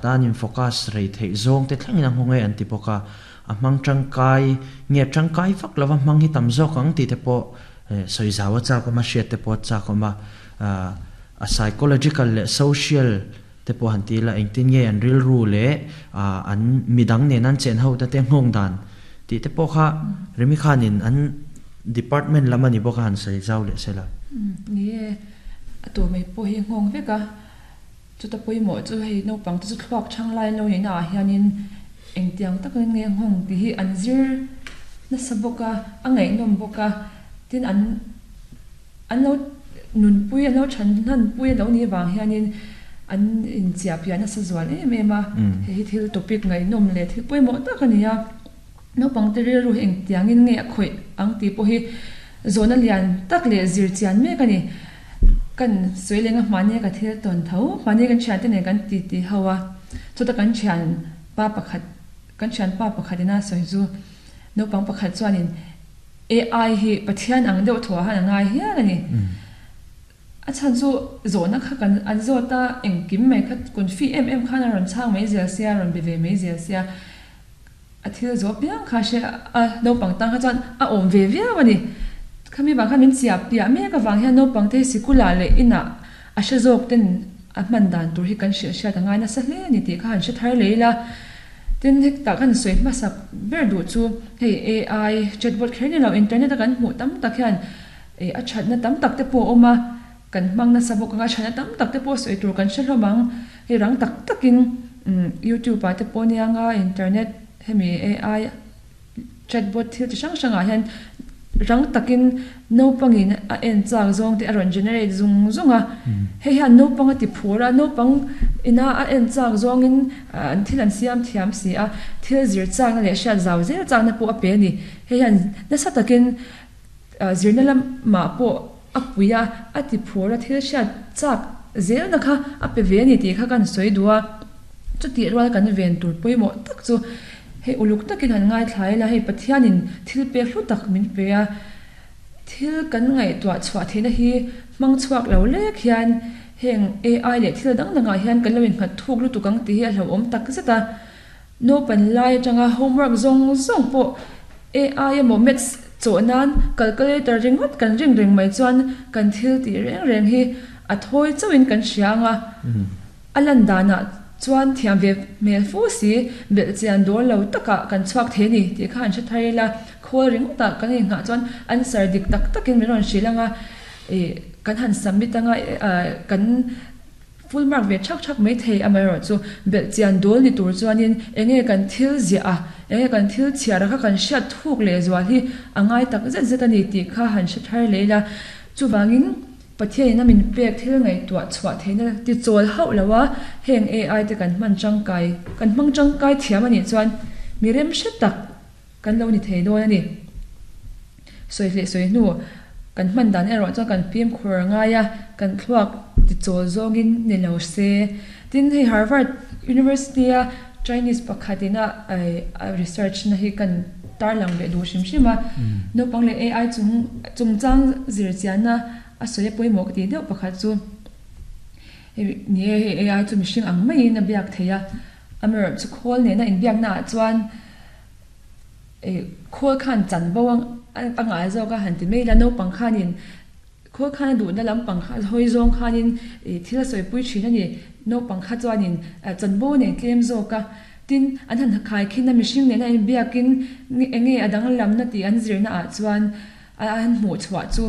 Khata an in focus rei theih zawng te thlengin a nghawng e an ti bawk a, a hmang tangkai nge tangkai vak lova hmang hi tam zawk ang tih te pawh sawi zau a chak awm a, hriat te pawh a chak awm a, a psychological leh social te pawh han ti ila engtin nge an rilru leh an midang nen an chen ho ta te nghawng dan tih te pawh kha Remi khanin an department lam a ni bawk a han sawi zau leh sela. Ni e, a tur mai pawh hi nghawng vek a, chuta pawimawh chu hei naupang te chu thluak chhang lai lo nihna ah hianin engtiang takin nge nghawng tih hi an zir nasa bawk a, a ngaihnawm bawk a, tin an An lo nunpui, an lo than hlanpui a lo nih vang hianin an inchiah piah nasa zual em em a. Hei hi thil topic ngaihnawm leh thil pawimawh tak a ni a. Naupangte rilru hi engtiangin nge a khawih ang tih pawh hi zawhna lian tak leh zir chian mek a ni. Kan sawi leng a hmahni ka thil tawn tho, hmahni kan thiante nen kan ti ti ho a, chuta kan thian pa pakhat, kan thian pa pakhat ina sawi chu naupang pakhat chuanin, AI hi Pathian ang deuh thuah han a ngai hial a ni. A chhan chu zawhna kha kan an zawt a, engkim mai kha confi em em khan a rawn chhang mai zel sia, a rawn be ve mai zel sia. A thil zawh piang kha hre a, naupang tang kha chuan a awm ve viau a ni. Khami vang khan min chiah piah mek avang hian naupang te hi sikulah leh inah a hre zawk ten a hman dan tur hi kan hrilh hriat a ngai nasa hle a ni tih kha han hre thar leh ila. Tin, hetah kan sawi hmasak ber duh chu hei AI chatbot kher ni lo internet a kan hmuh tam tak hian ih a thatna tam tak te pawh a awm a, kan hmang nasa bawk ang a, thatna tam tak te pawh sawi tur kan hre hlawm ang. Hei rang tak takin youtube ah te pawh nia nga internet hemi AI Chatbot thil chi hrang hrangah hian rang takin naupangin a en chak zawng te a rawn generate zung zung a, hei hian naupang a ti phur a, naupang ina a en chak zawngin an thil an siam thiam si a, thil zir chakna leh hriat zau zel chakna pawh a pe a ni. Hei hian nasa takin zirna lamah pawh a pui a, a ti phur a, thil hriat chak zelna kha a pe ve a ni tih kha kan sawi duh a. Chutih rual kan ven tur pawimawh tak chu hei uluk takin han ngaithla ila, hei Pathianin thil pek hlu tak min pe a, thil kan ngaihtuah chhuah theihna hi hmang chhuak lo lek hian heng AI leh thil dang dangah hian kan lo innghat thuk lutuk ang tih hi a hlauhawm tak zet a. Naupan lai atanga homework zawng zawng pawh AI emaw maths chawh nan calculator ringawt kan ring reng mai chuan kan thil tih reng reng hi a thawi chauhin kan hria ang a. A lan danah chuan thiam ve hmel fu si, belh chian dawn lo takah kan chhuak thei a ni tih kha an hre thar ila, khawl ringawtah kan inghah chuan answer dik tak takin min rawn hrilh ang a, ih kan han submit ang a, kan full mark ve thak thak mai thei amaherawhchu belh chian dawl ni tur chuanin enge kan thil ziah a, enge kan thil chhiar a kha kan hriat thuk leh zual hi a ngai tak zet zet a ni tih kha han hre thar leh ila, chuvangin. Pathianin a min pek thil ngaihtuah chhuah theihna ti chawl hauh lo a, heng AI te kan hman tangkai, kan hmang tangkai thiam a nih chuan mi rem hre tak kan lo ni thei dawn a ni. Sawi hleh sawi hnu kan hman dan erawh chuan kan fimkhur ngai a, kan thluak ti chawl zawngin ni lo se. Tin, hei Harvard University a Chinese pakhatin a research na hi kan tarlang leh duh hrim hrim a, naupang leh AI chung chungchang zirchianna a sawi a pawimawh ka tih deuh pakhat chu hei ni e, hei AI chu mihring ang maiin a biak thei a, amaherawhchu chu khawl nena inbiakna ah chuan khawl khan chanvo a ngah zawk a han ti mai ila naupang khanin Khawl khan a duhna lampang kha hawi zawng khanin ih thil a sawipui thin a ni. Naupang kha chuanin chanvo a nei tlem zawk a, tin an han khai khin a mihring nena inbiakin eng nge a danglamna tih an zirna ah chuan a han hmuh chhuah chu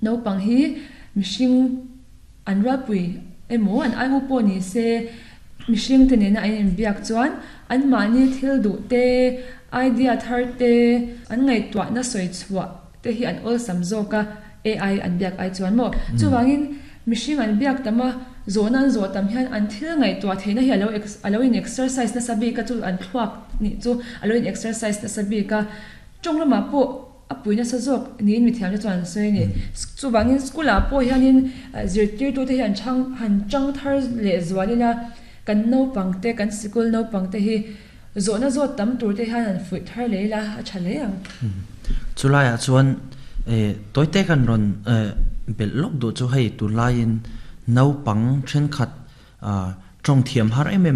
naupang hi mihring an rualpui emaw an aiu pawh ni se mihring te nena an inbiak chuan anmahni thil duh te, idea thar te an ngaihtuahna sawi chhuah te hi an awlsam zawk a, AI an biak ai chuan maw? Chuvangin mihring an biak tam a, zawhna an zawh tam hian an thil ngaihtuah theihna hi alo a lo in exercise nasa bik a, chu an thluak nih chu a lo in exercise nasa bik a, tawng lamah pawh a pui nasa zawk niin mithiam te chuan an sawi a ni. Chuvangin school ah pawh hianin zirtirtute hi an chhang han chang thar leh zual ila kan naupang te kan sikul naupang te hi Zawhna zawt tam tur te hian han fuih thar leh ila a tha hle ang. Chulaiah chuan tawite kan rawn belh lawk duh chu hei tunlaiin naupang thenkhat tawng thiam har em em